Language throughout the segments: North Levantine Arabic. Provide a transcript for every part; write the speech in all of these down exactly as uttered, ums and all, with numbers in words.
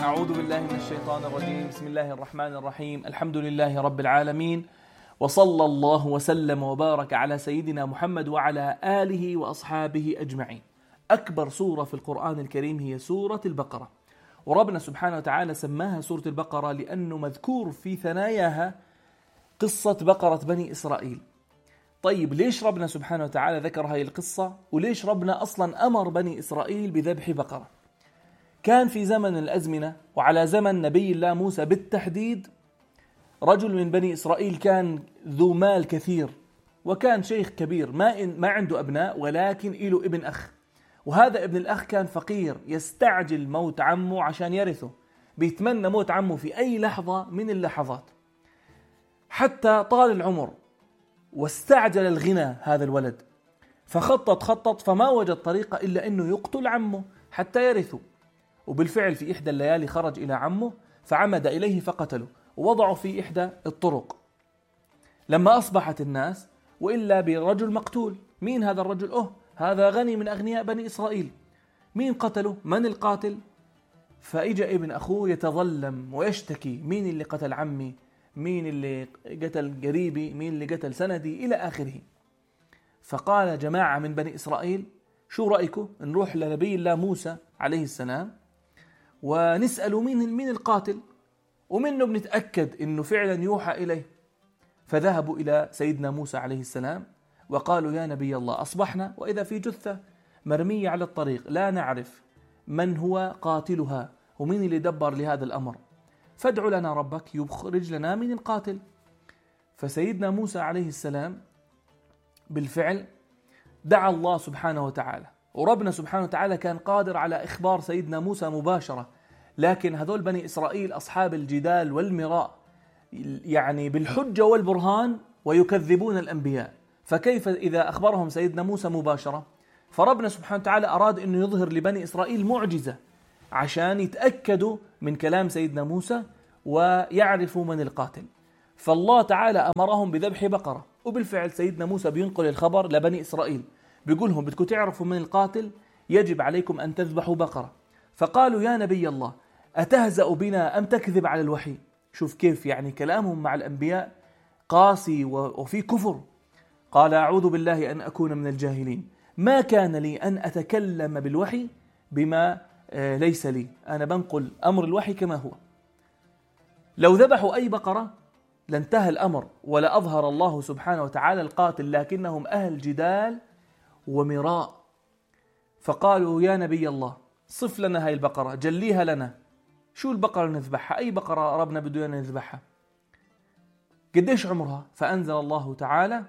أعوذ بالله من الشيطان الرجيم. بسم الله الرحمن الرحيم. الحمد لله رب العالمين، وصلى الله وسلم وبارك على سيدنا محمد وعلى آله وأصحابه أجمعين. أكبر سورة في القرآن الكريم هي سورة البقرة، وربنا سبحانه وتعالى سماها سورة البقرة لأنه مذكور في ثناياها قصة بقرة بني إسرائيل. طيب ليش ربنا سبحانه وتعالى ذكر هاي القصة؟ وليش ربنا أصلا أمر بني إسرائيل بذبح بقرة؟ كان في زمن الأزمنة وعلى زمن نبي الله موسى بالتحديد رجل من بني إسرائيل كان ذو مال كثير، وكان شيخ كبير ما, إن ما عنده أبناء، ولكن له ابن أخ، وهذا ابن الأخ كان فقير يستعجل موت عمه عشان يرثه، بيتمنى موت عمه في أي لحظة من اللحظات، حتى طال العمر واستعجل الغنى هذا الولد، فخطط خطط فما وجد طريقة إلا أنه يقتل عمه حتى يرثه. وبالفعل في إحدى الليالي خرج إلى عمه فعمد إليه فقتله ووضعه في إحدى الطرق. لما أصبحت الناس وإلا برجل مقتول. مين هذا الرجل؟ أوه هذا غني من أغنياء بني إسرائيل. مين قتله؟ من القاتل؟ فإجا ابن أخوه يتظلم ويشتكي: مين اللي قتل عمي؟ مين اللي قتل قريبي؟ مين اللي قتل سندي؟ إلى آخره. فقال جماعة من بني إسرائيل: شو رأيكم نروح لنبي الله موسى عليه السلام ونسأله مين مين القاتل، ومنه بنتأكد إنه فعلا يوحى إليه. فذهبوا إلى سيدنا موسى عليه السلام وقالوا: يا نبي الله، أصبحنا وإذا في جثة مرمية على الطريق لا نعرف من هو قاتلها ومين اللي دبر لهذا الأمر، فادع لنا ربك يخرج لنا من القاتل. فسيدنا موسى عليه السلام بالفعل دعا الله سبحانه وتعالى، وربنا سبحانه وتعالى كان قادر على إخبار سيدنا موسى مباشرة، لكن هذول بني إسرائيل أصحاب الجدال والمراء، يعني بالحجة والبرهان، ويكذبون الأنبياء، فكيف إذا أخبرهم سيدنا موسى مباشرة؟ فربنا سبحانه وتعالى أراد أنه يظهر لبني إسرائيل معجزة عشان يتأكدوا من كلام سيدنا موسى ويعرفوا من القاتل. فالله تعالى أمرهم بذبح بقرة، وبالفعل سيدنا موسى بينقل الخبر لبني إسرائيل، بيقولهم: بدكم تعرفوا من القاتل يجب عليكم أن تذبحوا بقرة. فقالوا: يا نبي الله، أتهزأ بنا أم تكذب على الوحي؟ شوف كيف يعني كلامهم مع الأنبياء قاسي وفي كفر. قال: أعوذ بالله أن أكون من الجاهلين، ما كان لي أن أتكلم بالوحي بما ليس لي، أنا بنقل أمر الوحي كما هو. لو ذبحوا أي بقرة لانتهى الأمر ولا أظهر الله سبحانه وتعالى القاتل، لكنهم أهل جدال ومراء. فقالوا: يا نبي الله، صف لنا هاي البقرة، جليها لنا، شو البقرة نذبحها؟ أي بقرة ربنا بده أن نذبحها؟ قديش عمرها؟ فأنزل الله تعالى: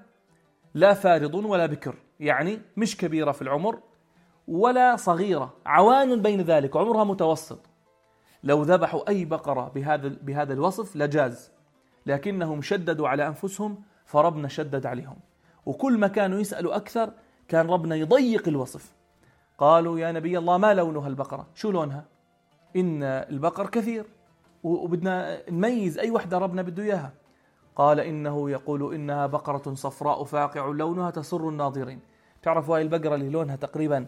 لا فارض ولا بكر، يعني مش كبيرة في العمر ولا صغيرة، عوان بين ذلك، عمرها متوسط. لو ذبحوا أي بقرة بهذا بهذا الوصف لجاز، لكنهم شددوا على أنفسهم فربنا شدد عليهم، وكل ما كانوا يسألوا أكثر كان ربنا يضيق الوصف. قالوا: يا نبي الله، ما لونها البقرة؟ شو لونها؟ إن البقر كثير وبدنا نميز أي وحدة ربنا بده إياها. قال: إنه يقول إنها بقرة صفراء فاقع لونها تسر الناظرين. تعرفوا هاي البقرة اللي لونها تقريبا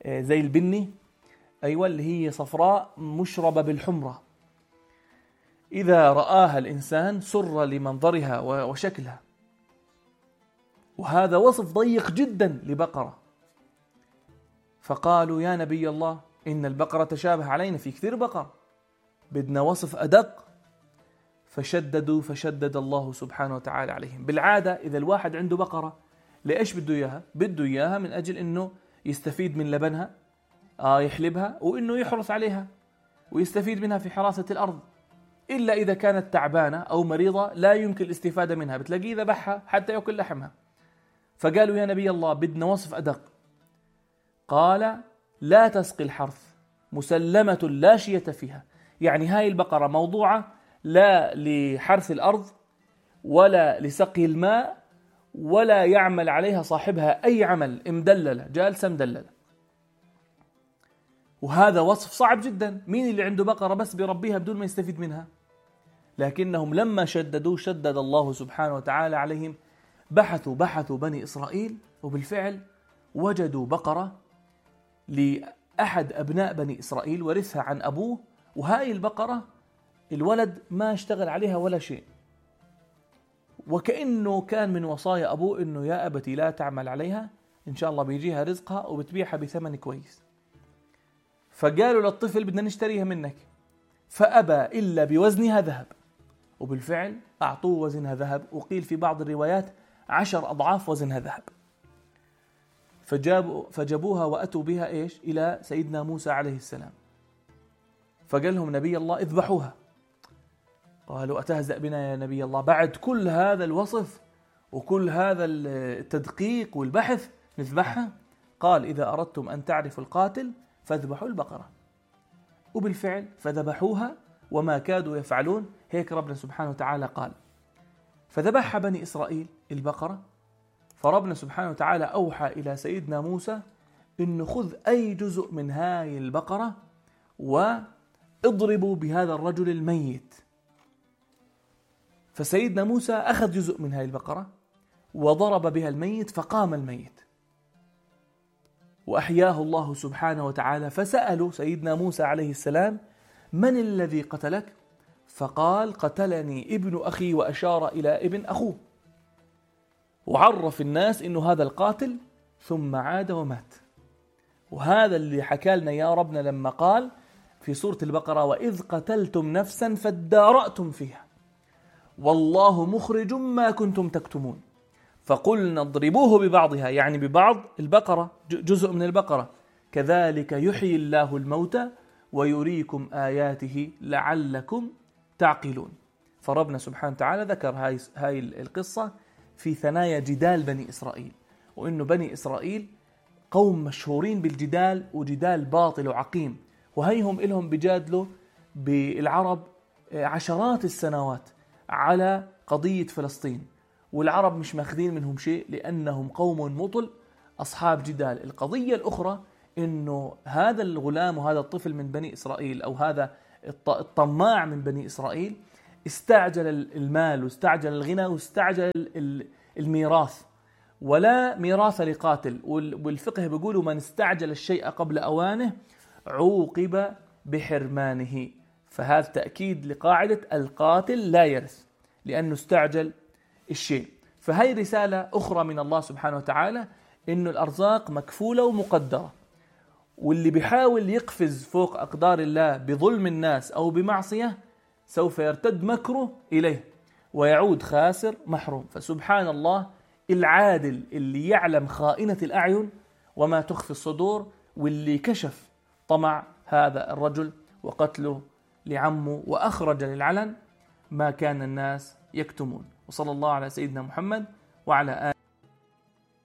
زي البني؟ أيوة، اللي هي صفراء مشربة بالحمرة، إذا رآها الإنسان سر لمنظرها وشكلها. وهذا وصف ضيق جدا لبقرة. فقالوا: يا نبي الله، إن البقرة تشابه علينا، في كثير بقر، بدنا وصف أدق. فشددوا فشدد الله سبحانه وتعالى عليهم. بالعادة إذا الواحد عنده بقرة ليش بده إياها؟ بده إياها من أجل إنه يستفيد من لبنها، آه يحلبها، وإنه يحرث عليها ويستفيد منها في حراسة الأرض. إلا إذا كانت تعبانة أو مريضة لا يمكن الاستفادة منها، بتلاقيه ذبحها حتى يأكل لحمها. فقالوا: يا نبي الله، بدنا وصف أدق. قال: لا تسقي الحرث، مسلمة لا شية فيها، يعني هاي البقرة موضوعة لا لحرث الأرض ولا لسقي الماء ولا يعمل عليها صاحبها أي عمل، مدللة، جالسة مدللة. وهذا وصف صعب جدا. مين اللي عنده بقرة بس بيربيها بدون ما يستفيد منها؟ لكنهم لما شددوا شدد الله سبحانه وتعالى عليهم. بحثوا بحثوا بني إسرائيل، وبالفعل وجدوا بقرة لأحد أبناء بني إسرائيل ورثها عن أبوه، وهاي البقرة الولد ما اشتغل عليها ولا شيء، وكأنه كان من وصايا أبوه إنه يا أبتي لا تعمل عليها، إن شاء الله بيجيها رزقها وبتبيعها بثمن كويس. فقالوا للطفل بدنا نشتريها منك، فأبى إلا بوزنها ذهب، وبالفعل أعطوه وزنها ذهب، وقيل في بعض الروايات عشر أضعاف وزنها ذهب. فجابوا فجابوها وأتوا بها إيش إلى سيدنا موسى عليه السلام، فقال لهم نبي الله اذبحوها. قالوا أتهزأ بنا يا نبي الله، بعد كل هذا الوصف وكل هذا التدقيق والبحث نذبحها؟ قال إذا أردتم أن تعرفوا القاتل فاذبحوا البقرة. وبالفعل فذبحوها وما كادوا يفعلون. هيك ربنا سبحانه وتعالى قال فذبحها بني إسرائيل البقرة. فربنا سبحانه وتعالى أوحى إلى سيدنا موسى إنه خذ أي جزء من هاي البقرة واضربوا بهذا الرجل الميت. فسيدنا موسى أخذ جزء من هاي البقرة وضرب بها الميت فقام الميت وأحياه الله سبحانه وتعالى. فسألوا سيدنا موسى عليه السلام من الذي قتلك؟ فقال قتلني ابن أخي، وأشار إلى ابن أخوه، وعرف الناس إنه هذا القاتل، ثم عاد ومات. وهذا اللي حكى لنا يا ربنا لما قال في سورة البقرة وإذ قتلتم نفسا فادارأتم فيها والله مخرج ما كنتم تكتمون فقلنا اضربوه ببعضها، يعني ببعض البقرة، جزء من البقرة، كذلك يحيي الله الموتى ويريكم آياته لعلكم تعقلون. فربنا سبحانه وتعالى ذكر هاي, هاي القصة في ثنايا جدال بني إسرائيل، وإنه بني إسرائيل قوم مشهورين بالجدال، وجدال باطل وعقيم، وهيهم إلهم بجادلوا بالعرب عشرات السنوات على قضية فلسطين، والعرب مش ماخذين منهم شيء لأنهم قوم مطل أصحاب جدال. القضية الأخرى إنه هذا الغلام وهذا الطفل من بني إسرائيل، أو هذا الطماع من بني إسرائيل، استعجل المال واستعجل الغنى واستعجل الميراث، ولا ميراث لقاتل. والفقه بيقولوا من استعجل الشيء قبل أوانه عوقب بحرمانه. فهذا تأكيد لقاعدة القاتل لا يرث لأنه استعجل الشيء. فهي رسالة أخرى من الله سبحانه وتعالى إنه الأرزاق مكفولة ومقدرة، واللي بيحاول يقفز فوق أقدار الله بظلم الناس أو بمعصية سوف يرتد مكره إليه ويعود خاسر محروم. فسبحان الله العادل اللي يعلم خائنة الأعين وما تخفي الصدور، واللي كشف طمع هذا الرجل وقتله لعمه وأخرج للعلن ما كان الناس يكتمون. وصلى الله على سيدنا محمد وعلى آله